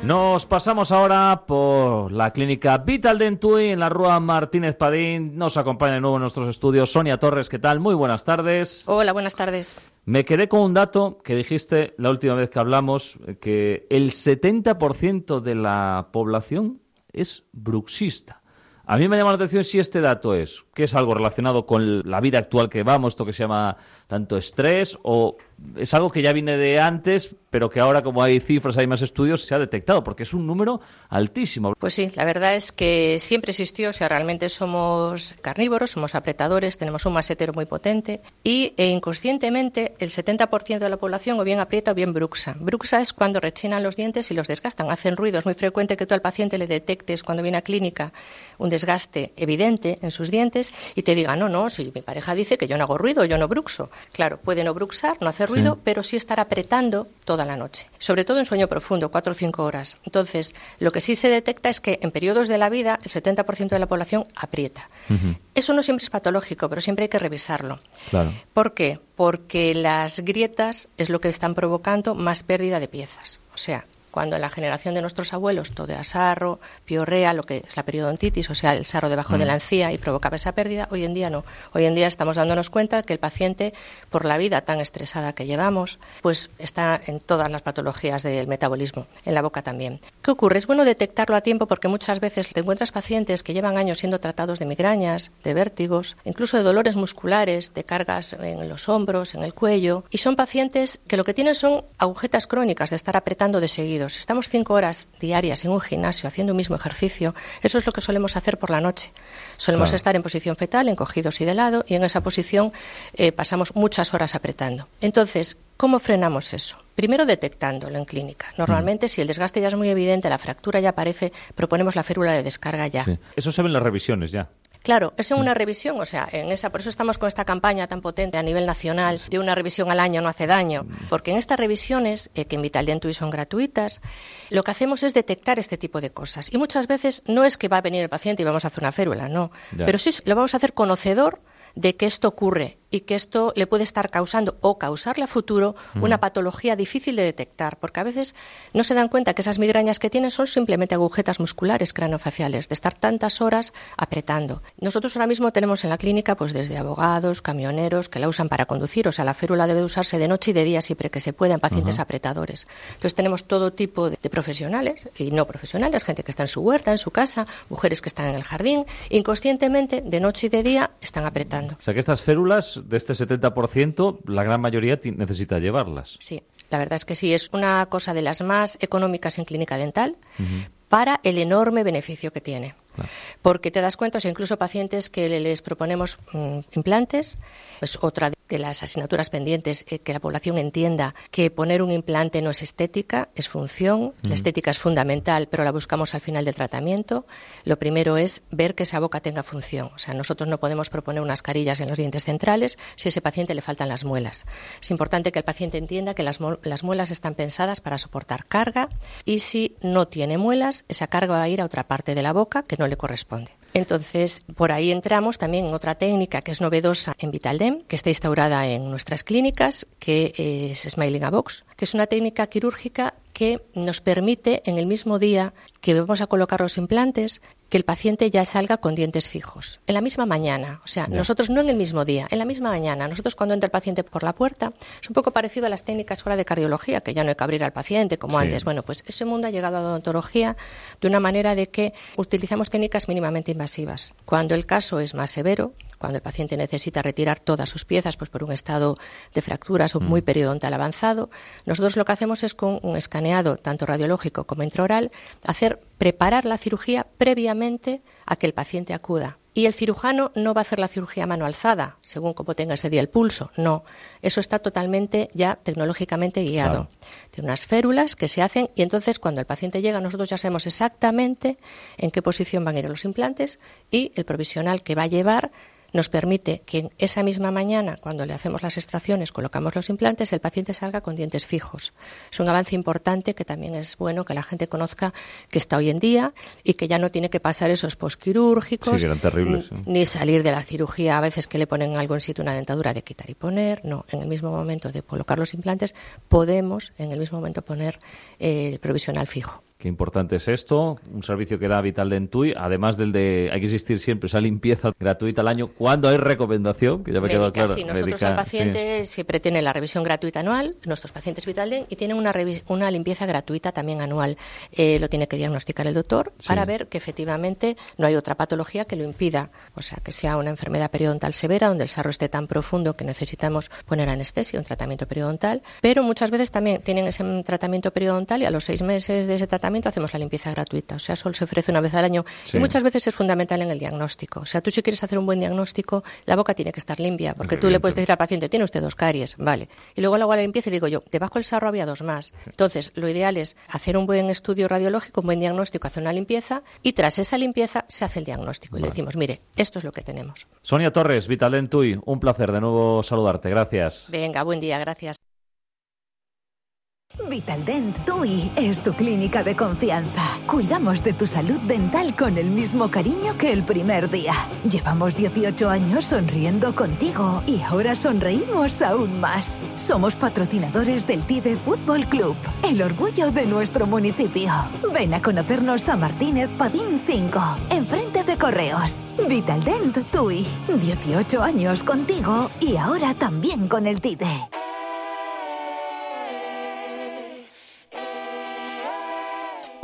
Nos pasamos ahora por la clínica Vital Dentui en la Rúa Martínez Padín. Nos acompaña de nuevo en nuestros estudios Sonia Torres. ¿Qué tal? Muy buenas tardes. Hola, buenas tardes. Me quedé con un dato que dijiste la última vez que hablamos, que el 70% de la población es bruxista. A mí me llama la atención si este dato es algo relacionado con la vida actual que vamos, esto que se llama tanto estrés, o es algo que ya viene de antes, pero que ahora, como hay cifras, hay más estudios, se ha detectado, porque es un número altísimo. Pues sí, la verdad es que siempre existió, o sea, realmente somos carnívoros, somos apretadores, tenemos un masetero muy potente y inconscientemente el 70% de la población o bien aprieta o bien bruxa. Bruxa es cuando rechinan los dientes y los desgastan, hacen ruido. Es muy frecuente que tú al paciente le detectes cuando viene a clínica un desgaste evidente en sus dientes y te diga, no, si mi pareja dice que yo no hago ruido, yo no bruxo. Claro, puede no bruxar, no hacer ruido, pero sí estar apretando toda la noche, sobre todo en sueño profundo, 4 o 5 horas. Entonces, lo que sí se detecta es que en periodos de la vida el 70% de la población aprieta. Uh-huh. Eso no siempre es patológico, pero siempre hay que revisarlo. Claro. ¿Por qué? Porque las grietas es lo que están provocando más pérdida de piezas. O sea, cuando en la generación de nuestros abuelos todo era sarro, piorrea, lo que es la periodontitis, o sea, el sarro debajo de la encía y provocaba esa pérdida, hoy en día no. Hoy en día estamos dándonos cuenta que el paciente, por la vida tan estresada que llevamos, pues está en todas las patologías del metabolismo, en la boca también. ¿Qué ocurre? Es bueno detectarlo a tiempo porque muchas veces te encuentras pacientes que llevan años siendo tratados de migrañas, de vértigos, incluso de dolores musculares, de cargas en los hombros, en el cuello, y son pacientes que lo que tienen son agujetas crónicas de estar apretando de seguido. Estamos 5 horas diarias en un gimnasio haciendo un mismo ejercicio. Eso es lo que solemos hacer por la noche. Solemos estar en posición fetal, encogidos y de lado, y en esa posición pasamos muchas horas apretando. Entonces, ¿cómo frenamos eso? Primero detectándolo en clínica. Normalmente, si el desgaste ya es muy evidente, la fractura ya aparece, proponemos la férula de descarga ya. Sí. Eso se ve en las revisiones ya. Claro, es en una revisión, o sea, por eso estamos con esta campaña tan potente a nivel nacional de una revisión al año no hace daño, porque en estas revisiones, que en Vital Dentui son gratuitas, lo que hacemos es detectar este tipo de cosas. Y muchas veces no es que va a venir el paciente y vamos a hacer una férula, no, pero sí lo vamos a hacer conocedor de que esto ocurre y que esto le puede estar causando o causarle a futuro una patología difícil de detectar, porque a veces no se dan cuenta que esas migrañas que tienen son simplemente agujetas musculares craneofaciales, de estar tantas horas apretando. Nosotros ahora mismo tenemos en la clínica pues desde abogados, camioneros que la usan para conducir, o sea, la férula debe usarse de noche y de día siempre que se pueda en pacientes apretadores. Entonces tenemos todo tipo de profesionales y no profesionales, gente que está en su huerta, en su casa, mujeres que están en el jardín, inconscientemente de noche y de día están apretando. O sea que estas férulas de este 70%, la gran mayoría necesita llevarlas. Sí, la verdad es que sí, es una cosa de las más económicas en clínica dental para el enorme beneficio que tiene. Claro. Porque te das cuenta, o sea, incluso pacientes que les proponemos implantes, pues otra de las asignaturas pendientes, que la población entienda que poner un implante no es estética, es función. La estética es fundamental, pero la buscamos al final del tratamiento. Lo primero es ver que esa boca tenga función. O sea, nosotros no podemos proponer unas carillas en los dientes centrales si a ese paciente le faltan las muelas. Es importante que el paciente entienda que las muelas están pensadas para soportar carga y si no tiene muelas, esa carga va a ir a otra parte de la boca que no le corresponde. Entonces, por ahí entramos también en otra técnica que es novedosa en Vitaldent, que está instaurada en nuestras clínicas, que es Smiling a Box, que es una técnica quirúrgica que nos permite en el mismo día que vamos a colocar los implantes, que el paciente ya salga con dientes fijos, en la misma mañana. O sea, nosotros no en el mismo día, en la misma mañana. Nosotros cuando entra el paciente por la puerta, es un poco parecido a las técnicas ahora de cardiología, que ya no hay que abrir al paciente como antes. Bueno, pues ese mundo ha llegado a la odontología de una manera de que utilizamos técnicas mínimamente invasivas. Cuando el caso es más severo, cuando el paciente necesita retirar todas sus piezas pues por un estado de fracturas o muy periodontal avanzado, nosotros lo que hacemos es con un escaneado tanto radiológico como intraoral, preparar la cirugía previamente a que el paciente acuda. Y el cirujano no va a hacer la cirugía a mano alzada, según como tenga ese día el pulso. No, eso está totalmente ya tecnológicamente guiado. Claro. Tiene unas férulas que se hacen y entonces cuando el paciente llega nosotros ya sabemos exactamente en qué posición van a ir los implantes y el provisional que va a llevar nos permite que esa misma mañana, cuando le hacemos las extracciones, colocamos los implantes, el paciente salga con dientes fijos. Es un avance importante que también es bueno que la gente conozca que está hoy en día y que ya no tiene que pasar esos posquirúrgicos, sí, que eran terribles, ni salir de la cirugía a veces que le ponen algo en sitio, una dentadura de quitar y poner. No, en el mismo momento de colocar los implantes podemos en el mismo momento poner el provisional fijo. Qué importante es esto, un servicio que da Vitaldent TUI, además del de, hay que existir siempre esa limpieza gratuita al año, cuando hay recomendación, que ya me ha quedado claro. Sí, nosotros al paciente siempre tiene la revisión gratuita anual, nuestros pacientes Vitaldent, y tienen una limpieza gratuita también anual. Lo tiene que diagnosticar el doctor para ver que efectivamente no hay otra patología que lo impida, o sea, que sea una enfermedad periodontal severa, donde el sarro esté tan profundo que necesitamos poner anestesia, un tratamiento periodontal, pero muchas veces también tienen ese tratamiento periodontal y a los 6 meses de ese tratamiento hacemos la limpieza gratuita. O sea, solo se ofrece una vez al año y muchas veces es fundamental en el diagnóstico. O sea, tú si quieres hacer un buen diagnóstico, la boca tiene que estar limpia, porque tú le puedes decir al paciente, tiene usted 2 caries, vale. Y luego le hago la limpieza y digo yo, debajo del sarro había 2 más. Entonces, lo ideal es hacer un buen estudio radiológico, un buen diagnóstico, hacer una limpieza y tras esa limpieza se hace el diagnóstico. Y le decimos, mire, esto es lo que tenemos. Sonia Torres, Vitaldent TUI, un placer de nuevo saludarte. Gracias. Venga, buen día, gracias. Vitaldent TUI es tu clínica de confianza. Cuidamos de tu salud dental con el mismo cariño que el primer día. Llevamos 18 años sonriendo contigo y ahora sonreímos aún más. Somos patrocinadores del TIDE Fútbol Club, el orgullo de nuestro municipio. Ven a conocernos a Martínez Padín 5, enfrente de Correos. Vitaldent TUI, 18 años contigo y ahora también con el TIDE.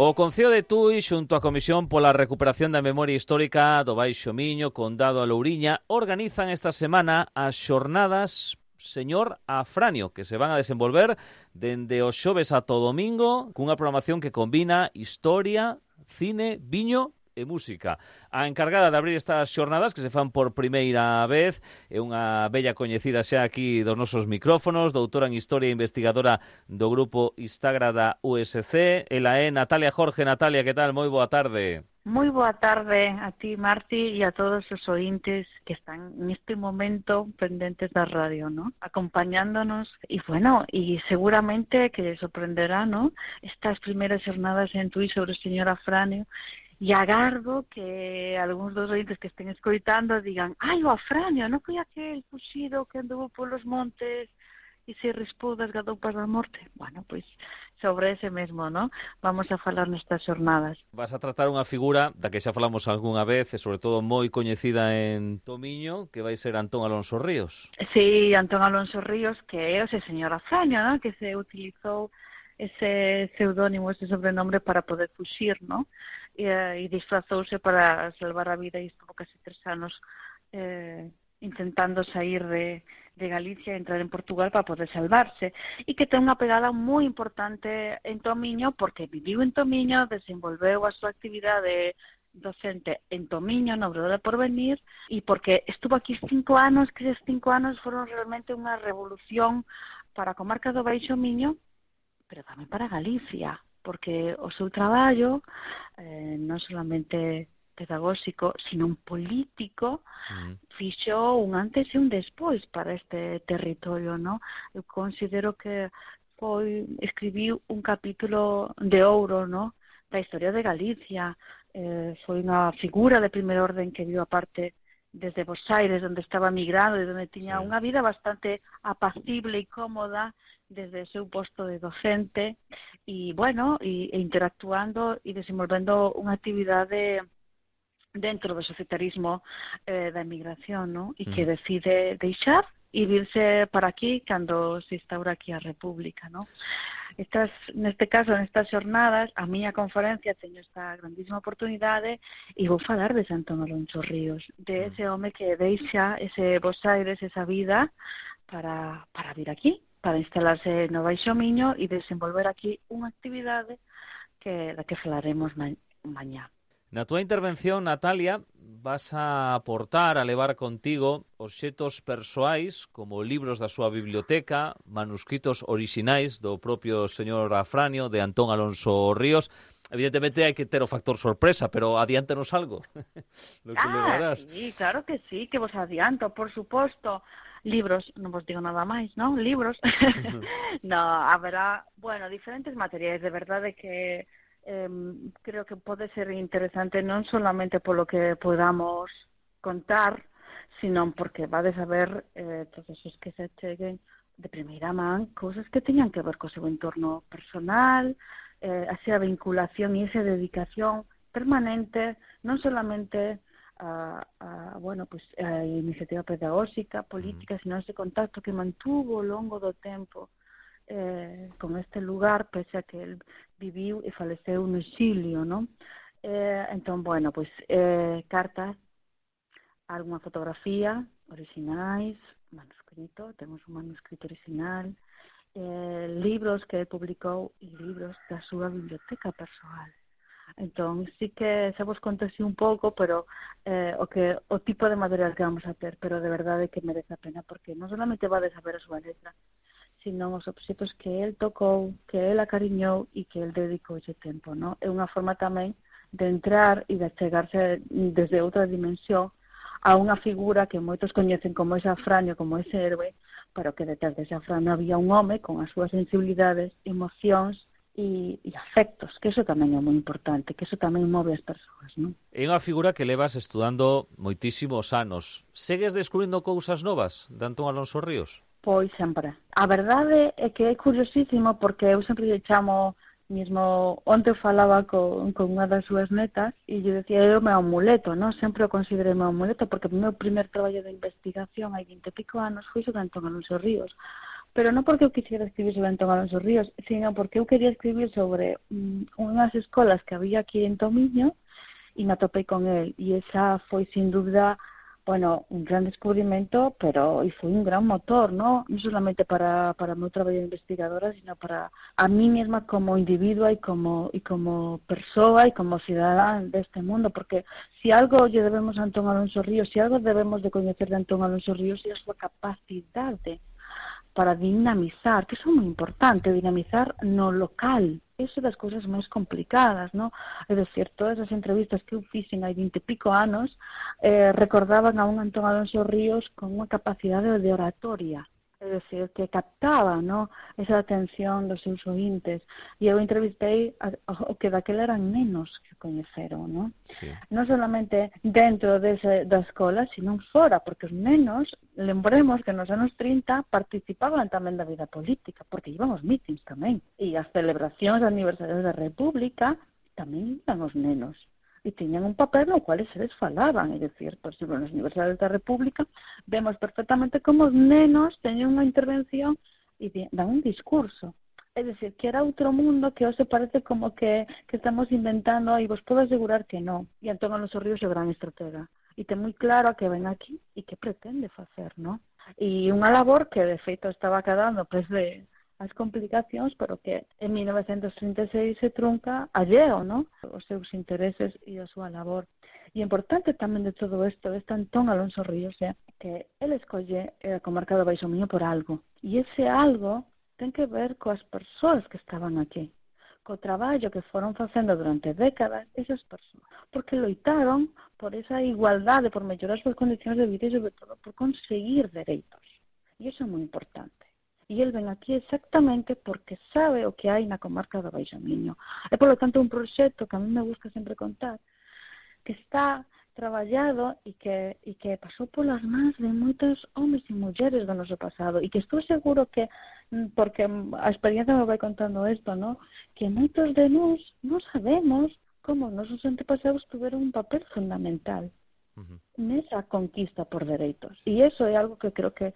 O Concello de Tui, xunto á Comisión pola Recuperación da Memoria Histórica do Baixo Miño, Condado a Louriña, organizan esta semana as xornadas Señor Afranio, que se van a desenvolver dende o xoves ata o domingo, cunha programación que combina historia, cine, viño e música. A encargada de abrir estas xornadas, que se fan por primeira vez, é unha bella coñecida xa aquí dos nosos micrófonos, doutora en Historia e investigadora do grupo Istagra da USC. Ela é Natalia Jorge. Natalia, que tal? Moi boa tarde. Moi boa tarde a ti, Marti, e a todos os ointes que están neste momento pendentes da radio, ¿no? Acompañándonos, e bueno, e seguramente que les sorprenderá, ¿no? Estas primeiras xornadas en Tui sobre o señor Afranio. E agardo que algúns dos ointes que estén escoitando digan, ai, o Afranio, non foi aquel fuxido que andou polos montes e se rispou das gadoupas da morte? Bueno, pois sobre ese mesmo, ¿no? Vamos a falar nestas xornadas. Vas a tratar unha figura da que xa falamos algunha vez e sobre todo moi coñecida en Tomiño, que vai ser Antón Alonso Ríos. Sí, Antón Alonso Ríos, que é ese señor Afranio, ¿no? Que se utilizou ese pseudónimo, ese sobrenombre para poder fuxir, ¿no? E disfrazouse para salvar a vida e estuvo casi 3 anos intentando sair de Galicia e entrar en Portugal para poder salvarse, e que ten unha pegada moi importante en Tomiño porque viviu en Tomiño, desenvolveu a súa actividade docente en Tomiño, no Obradoiro de Porvenir, e porque estuvo aquí 5 anos, que esos 5 anos foron realmente unha revolución para a comarca do Baixo Miño, pero tamén para Galicia, porque o seu traballo non solamente pedagóxico, sino un político, fixo un antes e un despois para este territorio, ¿no? Eu considero que escribiu un capítulo de ouro, ¿no?, da historia de Galicia. Foi unha figura de primer orden que viu aparte desde Bos Aires, onde estaba migrado e onde tiña unha vida bastante apacible e cómoda desde o seu posto de docente e, bueno, e interactuando e desenvolvendo unha actividade dentro do societarismo da emigración, ¿no? E que decide deixar e virse para aquí cando se instaura aquí a República, ¿no? Neste caso, nestas xornadas, a miña conferencia teño esta grandísima oportunidade e vou falar de Antón Alonso Ríos, de ese home que deixa ese Bos Aires, esa vida para vir aquí, para instalarse no Baixo Miño e desenvolver aquí unha actividade da que falaremos mañá. Na túa intervención, Natalia, vas a aportar, a levar contigo obxetos persoais como libros da súa biblioteca, manuscritos orixinais do propio señor Afranio, de Antón Alonso Ríos. Evidentemente hai que ter o factor sorpresa, pero adiántanos algo do que levarás. Sí, claro que sí, que vos adianto, por suposto. Libros, non vos digo nada máis, ¿no? Libros. No, haberá, bueno, diferentes materiais, de verdade que creo que pode ser interesante non solamente polo que podamos contar, sino porque vades a ver todos os que se cheguen de primeira man cousas que teñan que ver co seu entorno personal, esa vinculación y esa dedicación permanente, non solamente a iniciativa pedagóxica, política, sino ese contacto que mantuvo ao longo do tempo con este lugar, pese a que el viviu e faleceu no exilio, non? Entón, bueno, pois cartas, algunha fotografía orixinais, manuscrito, temos un manuscrito original, libros que publicou e libros da súa biblioteca persoal. Entón, sí que se vos conto así un pouco, pero o tipo de material que vamos a ter, pero de verdade que merece a pena, porque non solamente vades a ver a súa letra, sino os obxetos que el tocou, que el acariñou e que el dedicou ese tempo, non? É unha forma tamén de entrar e de chegarse desde outra dimensión a unha figura que moitos coñecen como ese Afranio, como ese héroe, pero que detrás dese Afranio había un home con as súas sensibilidades, emocións e afectos, que eso tamén é moi importante, que eso tamén move as persoas, non? É unha figura que levas estudando moitísimos anos. Segues descubrindo cousas novas de Antón Alonso Ríos? Pois sempre. A verdade é que é curiosísimo porque eu sempre lle chamo, mesmo onte falaba con unha das súas netas e lle decía, é o meu amuleto, non? Sempre o considerei o meu amuleto porque o meu primer traballo de investigación hai 20 e pico anos foi sobre Antón Alonso Ríos. Pero non porque eu quisiera escribir sobre Antón Alonso Ríos, sino porque eu quería escribir sobre unhas escolas que había aquí en Tomiño e me atopei con el. E esa foi, sin dúbida, bueno, un gran descubrimento, pero e foi un gran motor, ¿no? Non solamente para o meu traballo de investigadora, sino para a mí mesma como individua e como persoa e como cidadán deste mundo, porque si algo lle debemos a Antón Alonso Ríos, si algo debemos de coñecer de Antón Alonso Ríos, é a súa capacidade para dinamizar, que iso é moi importante, dinamizar no local. Iso das cousas máis complicadas, ¿no? É dicir, todas as entrevistas que eu fixen hai 20 e pico anos recordaban a un Antón Alonso Ríos con unha capacidade de oratoria, é dicir, que captaba, ¿no?, esa atención dos seus ointes. E eu entrevistei o que daquela eran nenos que coñeceron, ¿no? Sí. Non solamente dentro da escola, sino fora, porque os nenos, lembremos que nos anos 30 participaban tamén da vida política, porque iban os mítins tamén. E as celebracións de aniversarios da República tamén iban os nenos. E tiñan un papel no cual eles falaban, é dicir, por exemplo, nos aniversarios da República vemos perfectamente como os nenos teñen unha intervención e dan un discurso. É dicir, que era outro mundo que hoxe parece como que estamos inventando e vos podo asegurar que non. E Antón Alonso Ríos é o gran estratega. E ten moi claro a que ven aquí e que pretende facer, non? E unha labor que, de feito, estaba quedando desde as complicacións, pero que en 1936 se trunca alleo, ¿no?, os seus intereses e a súa labor. E importante tamén de todo isto, deste Antón Alonso Ríos, é que ele escolle a comarca do Baixo Miño por algo. E ese algo ten que ver coas persoas que estaban aquí, co traballo que foron facendo durante décadas esas persoas, porque loitaron por esa igualdade, por mellorar as súas condicións de vida e, sobre todo, por conseguir dereitos. E iso é moi importante. E el ven aquí exactamente porque sabe o que hai na comarca do Baixo Miño. É, polo tanto, un proxecto que a mí me gusta sempre contar, que está traballado e que pasou polas mans de moitos homes e mulleres do noso pasado e que estou seguro que, porque a experiencia me vai contando isto, ¿no?, que moitos de nós non sabemos como os nosos antepasados tuveron un papel fundamental nesa conquista por dereitos. E iso é algo que creo que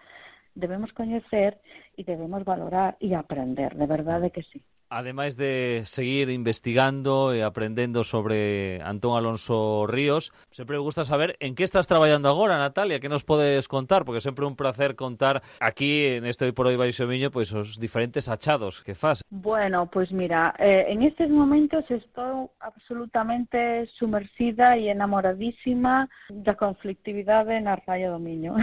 debemos coñecer e debemos valorar e aprender, de verdade que sí. Ademais de seguir investigando e aprendendo sobre Antón Alonso Ríos, sempre me gusta saber en que estás traballando agora, Natalia, que nos podes contar, porque sempre é un placer contar aquí neste Hoy por Hoy Baixo Miño pois os diferentes achados que fas. Bueno, pois mira, en estes momentos estou absolutamente sumersida e enamoradísima da conflictividade na Raya do Miño.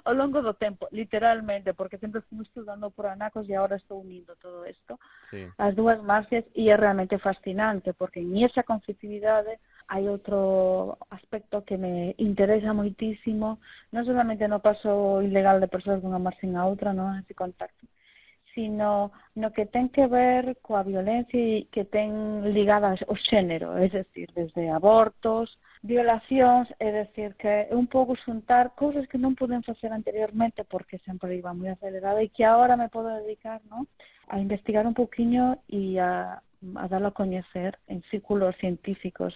Ao longo do tempo, literalmente, porque sempre fui estudando por anacos e agora estou unindo todo isto. Sí. As dúas marxes, e é realmente fascinante porque en esa conflictividade hai outro aspecto que me interesa moitísimo, non solamente no paso ilegal de persoas dunha marxe a outra, non, ese contacto, sino no que ten que ver coa violencia e que ten ligadas ao xénero, é dicir, desde abortos, violacións, é dicir, que é un pouco xuntar cousas que non poden facer anteriormente porque sempre iba moi acelerada e que agora me podo dedicar, ¿no?, a investigar un pouquiño e a a darlo a coñecer en círculos científicos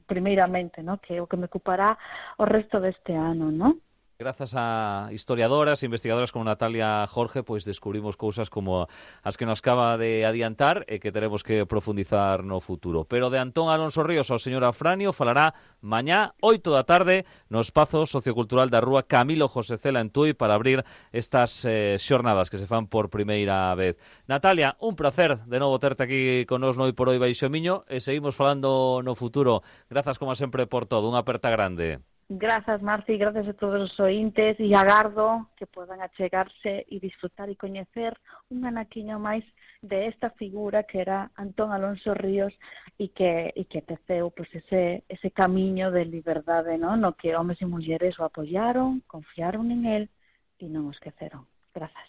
primeiramente, ¿no? Que é o que me ocupará o resto deste ano, ¿no? Grazas a historiadoras e investigadoras como Natalia Jorge, pois descubrimos cousas como as que nos acaba de adiantar e que teremos que profundizar no futuro. Pero de Antón Alonso Ríos ao señor Afranio falará mañá, 8 da tarde, no espazo sociocultural da Rúa Camilo José Cela en Tui para abrir estas xornadas que se fan por primeira vez. Natalia, un placer de novo terte aquí con nos no Hoy por Hoy Baixo Miño e seguimos falando no futuro. Grazas como sempre por todo, unha aperta grande. Grazas, Marci, grazas a todos os ointes e agardo que podan achegarse e disfrutar e coñecer un anaquiño máis de esta figura que era Antón Alonso Ríos e que teceu pues, ese camiño de liberdade, ¿no? No que homes e mulleres o apoyaron, confiaron en él e non o esqueceron. Grazas.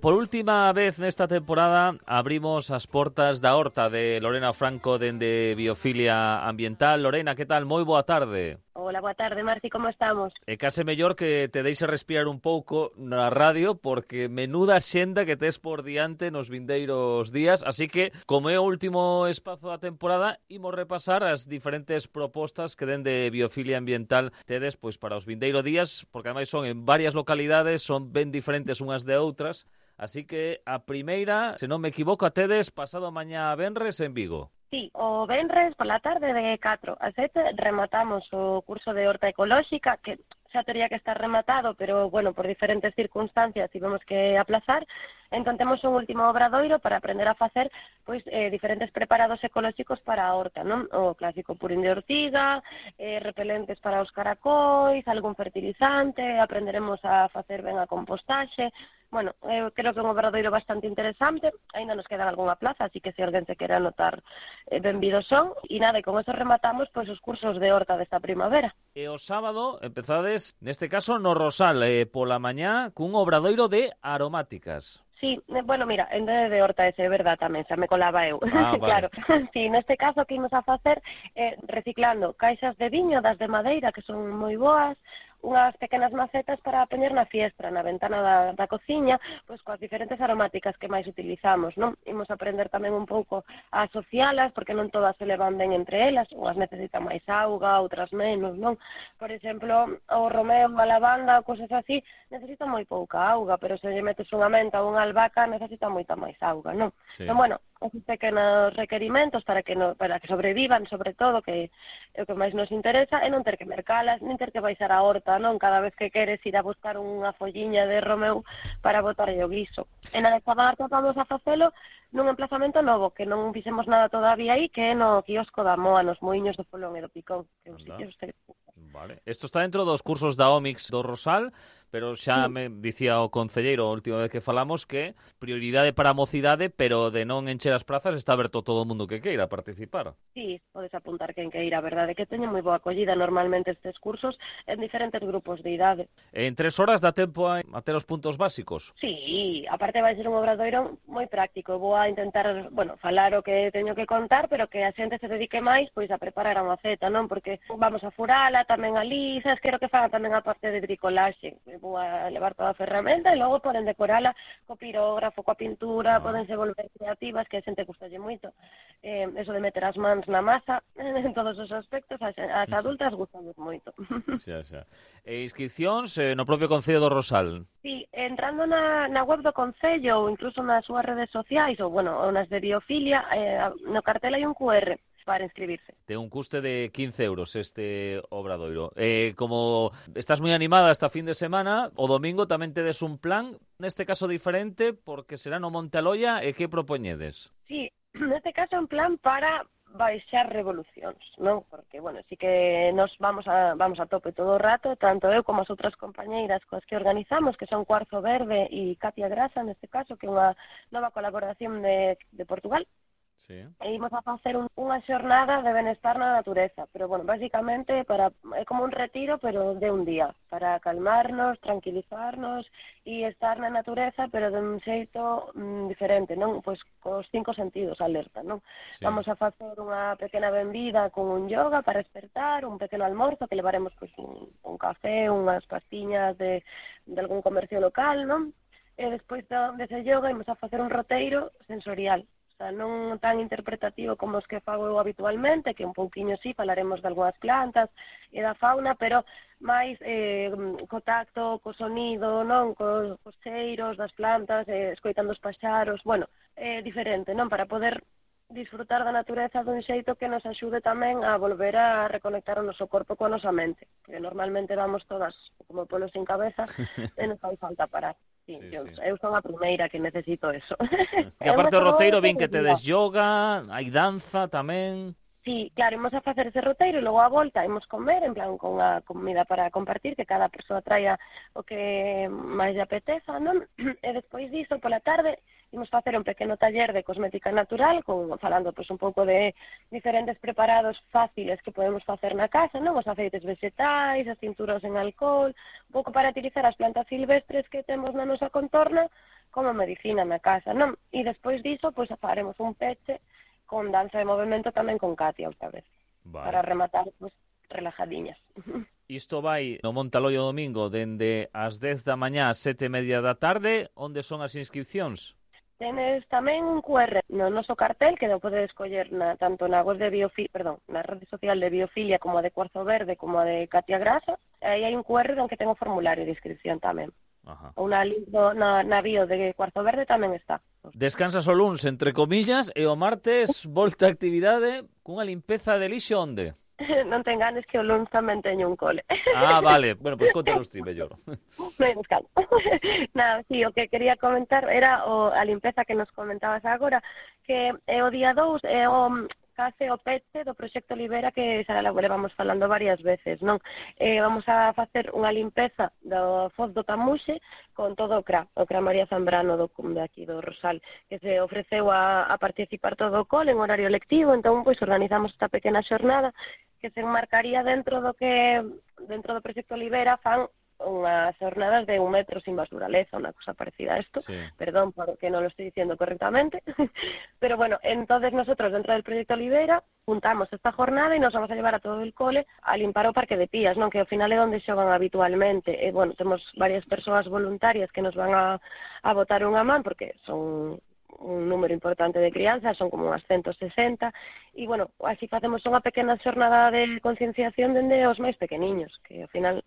Por última vez nesta temporada abrimos as portas da horta de Lorena Franco dende Biofilia Ambiental. Lorena, que tal? Moi boa tarde. Hola, boa tarde, Marci, como estamos? É case mellor que te deixe respirar un pouco na radio porque menuda xenda que tes por diante nos vindeiros días, así que, como é o último espazo da temporada, imos repasar as diferentes propostas que dende Biofilia Ambiental tedes pois para os vindeiros días, porque ademais son en varias localidades, son ben diferentes unhas de outras, así que a primeira, se non me equivoco, a tedes pasado mañá venres en Vigo. Sí, o venres pola tarde de 4 a 7 rematamos o curso de horta ecolóxica, que xa tería que estar rematado, pero, bueno, por diferentes circunstancias tivemos que aplazar. Entón temos un último obradoiro para aprender a facer pois diferentes preparados ecolóxicos para a horta, non? O clásico purín de ortiga, repelentes para os caracois, algún fertilizante, aprenderemos a facer ben a compostaxe. Bueno, creo que é un obradoiro bastante interesante, aínda nos queda algunha plaza, así que se alguén se quere anotar, benvidos son. E nada, e con eso rematamos pois os cursos de horta desta primavera. E o sábado empezades, neste caso, no Rosal, pola mañá, cun obradoiro de aromáticas. Sí, bueno, mira, en vez de horta ese, é verdad tamén, xa me colaba eu. Vale. Claro, sí, neste caso que imos a facer reciclando caixas de viño das de madeira que son moi boas, unhas pequenas macetas para poñer na fiestra, na ventana da cociña, pois coas diferentes aromáticas que máis utilizamos, non? Imos aprender tamén un pouco a asocialas, porque non todas se levan ben entre elas, unhas necesitan máis auga, outras menos, non? Por exemplo, o romeo, a lavanda, cousas así, necesitan moi pouca auga, pero se lle metes unha menta ou unha albahaca, necesita moita máis auga, non? Sí. Entón, bueno, esos pequenos requerimentos para que sobrevivan, sobre todo, que é o que máis nos interesa, é non ter que mercalas, nin ter que baixar a horta, non? Cada vez que queres ir a buscar unha folliña de romeu para botarlle o guiso. E na desta marca vamos a facelo nun emplazamento novo, que non fixemos nada todavía aí, que é no quiosco da Moa, nos Muiños do Polón e do Picón, que é un sitio Vale. Isto está dentro dos cursos da OMIX do Rosal, pero xa me dicía o concelleiro a última vez que falamos que prioridade para a mocidade, pero de non encher as prazas está aberto todo o mundo que queira participar. Sí, podes apuntar quen queira, a verdade que teñen moi boa acollida normalmente estes cursos en diferentes grupos de idade. En 3 horas dá tempo a ter os puntos básicos? Sí, aparte vai ser un obradoiro moi práctico. Vou a intentar, bueno, falar o que teño que contar, pero que a xente se dedique máis pois a preparar a maceta, non? Porque vamos a furala tamén ali, sabes, quero que fagan tamén a parte de bricolaxe. Vou a levar toda a ferramenta e logo poden decorala co pirógrafo, coa pintura, podense volver creativas, que a xente gustalle moito. Eso de meter as mans na masa, en todos os aspectos, as adultas gustamos moito. Xa. E inscripcións no propio Concello do Rosal? Sí, entrando na web do Concello ou incluso nas súas redes sociais, ou, bueno, ou nas de Biofilia, no cartel hai un QR para inscribirse. Ten un custe de 15 euros este obradoiro. Como estás moi animada esta fin de semana, o domingo tamén tedes un plan, neste caso diferente, porque será no Monte Aloia, e que propoñedes? Sí, neste caso un plan para baixar revolucións, non? Porque, bueno, sí que nos vamos a tope todo o rato, tanto eu como as outras compañeiras coas que organizamos, que son Cuarzo Verde e Katia Grasa, neste caso, que é unha nova colaboración de Portugal. Sí. E imos a facer unha xornada de benestar na natureza, pero, bueno, basicamente é como un retiro, pero de un día, para calmarnos, tranquilizarnos e estar na natureza, pero de un xeito diferente, non? Pois cos 5 sentidos alerta, non? Sí. Vamos a facer unha pequena benvida con un yoga para despertar, un pequeno almorzo que levaremos pois, un café, unhas pastiñas de algún comercio local, non? E despois dese yoga imos a facer un roteiro sensorial, non tan interpretativo como os que fago eu habitualmente, que un pouquiño sí, falaremos de algunhas plantas e da fauna, pero máis co tacto, co sonido, non, cos cheiros das plantas, escoitando os paxaros, bueno, diferente, non, para poder disfrutar da natureza dun xeito que nos axude tamén a volver a reconectar o noso corpo coa nosa mente, que normalmente vamos todas como polos sin cabeza e nos fai falta parar. Sí, eu son a primeira que necesito eso. Que aparte do roteiro, vin que tedes yoga, hai danza tamén. Sí, claro, imos a facer ese roteiro e logo a volta imos comer, en plan, con a comida para compartir, que cada persoa traia o que máis lle apeteza, non? E despois diso, pola tarde, imos facer un pequeno taller de cosmética natural, falando pois, un pouco de diferentes preparados fáciles que podemos facer na casa, non? Os aceites vegetais, as tinturas en alcohol, un pouco para utilizar as plantas silvestres que temos na nosa contorna como medicina na casa, non? E despois diso, pois faremos un peche con danza de movimento tamén con Katia outra vez, para rematar pois, relajadiñas. Isto vai no Montaloio domingo dende as 10 da mañá ás 7:30 da tarde. Onde son as inscripcións? Tenes tamén un QR no noso cartel que o podes escoller tanto na web de na rede social de Biofilia como a de Cuarzo Verde como a de Katia Grasa. Aí hai un QR onde ten o formulario de inscripción tamén. Ajá. Ou na bio de Cuarzo Verde tamén está. Descansas o luns, entre comillas, e o martes volta a actividade cunha limpeza de lixo onde? Non te enganes que o luns tamén teño un cole. Ah, vale. Bueno, pois contanos ti mellor. Non hai descanso. Nada, sí, o que quería comentar era a limpeza que nos comentabas agora, que é o día 2, é o case o peche do Proxecto Libera que xa levamos falando varias veces, non? Vamos a facer unha limpeza do Foz do Tamuxe con todo o CRA María Zambrano de aquí do Rosal, que se ofreceu a participar todo o cole en horario lectivo, entón pois organizamos esta pequena xornada que se enmarcaría dentro do Proxecto Libera fan unhas jornadas de 1 metro sin basuraleza, unha cosa parecida a esto, sí. Perdón porque non lo estoy diciendo correctamente, pero bueno, entonces nosotros dentro del Proyecto Libera juntamos esta jornada e nos vamos a llevar a todo el cole a limpar o Parque de Pías, non, que ao final é onde xogan habitualmente, e bueno, temos varias persoas voluntarias que nos van a botar unha man, porque son un número importante de crianzas, son como unas 160, e bueno, así facemos unha pequena xornada de concienciación dende os máis pequeniños, que ao final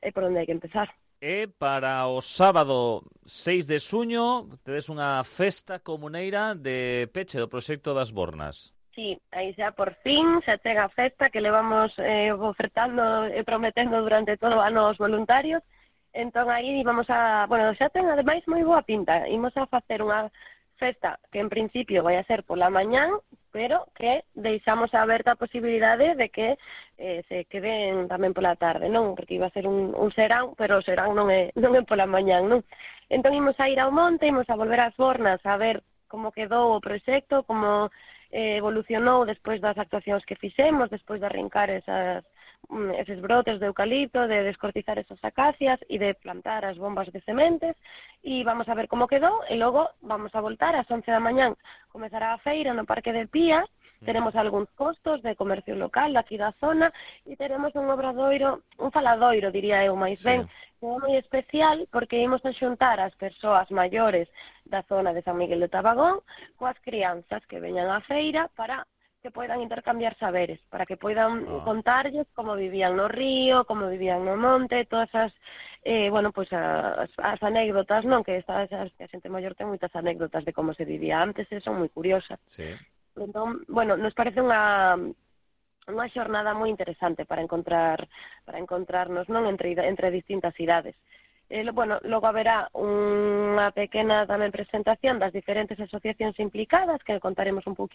é por onde hai que empezar. E para o sábado 6 de xuño tedes unha festa comuneira de peche do Proxecto das Bornas. Sí, aí xa por fin xa chega a festa que levamos ofertando e prometendo durante todo o ano aos voluntarios. Entón aí vamos a... Bueno, xa ten ademais moi boa pinta. Imos a facer unha festa que en principio vai a ser pola mañán, pero que deixamos aberta a posibilidade de que se queden tamén pola tarde, non? Porque iba a ser un serán, pero o serán non é pola mañán, non? Entón imos a ir ao monte, imos a volver ás Bornas a ver como quedou o proxecto, como evolucionou despois das actuacións que fixemos, despois de arrincar eses brotes de eucalipto, de descortizar esas acacias e de plantar as bombas de sementes, e vamos a ver como quedou, e logo vamos a voltar ás 11 da mañán, comezará a feira no Parque de Pías, teremos algúns postos de comercio local aquí da zona, e teremos un obradoiro, un faladoiro, diría eu, máis ben, que é moi especial, porque imos a xuntar as persoas maiores da zona de San Miguel de Tabagón coas crianzas que veñan á feira para que poidan intercambiar saberes, para que poidan contarlles como vivían no río, como vivían no monte, todas as as anécdotas, non, que a xente maior ten moitas anécdotas de como se vivía antes, e son moi curiosas. Sí. Entón, bueno, nos parece unha xornada moi interesante para encontrarnos, non, entre distintas idades. Logo haberá unha pequena tamén presentación das diferentes asociacións implicadas, que contaremos un poquinho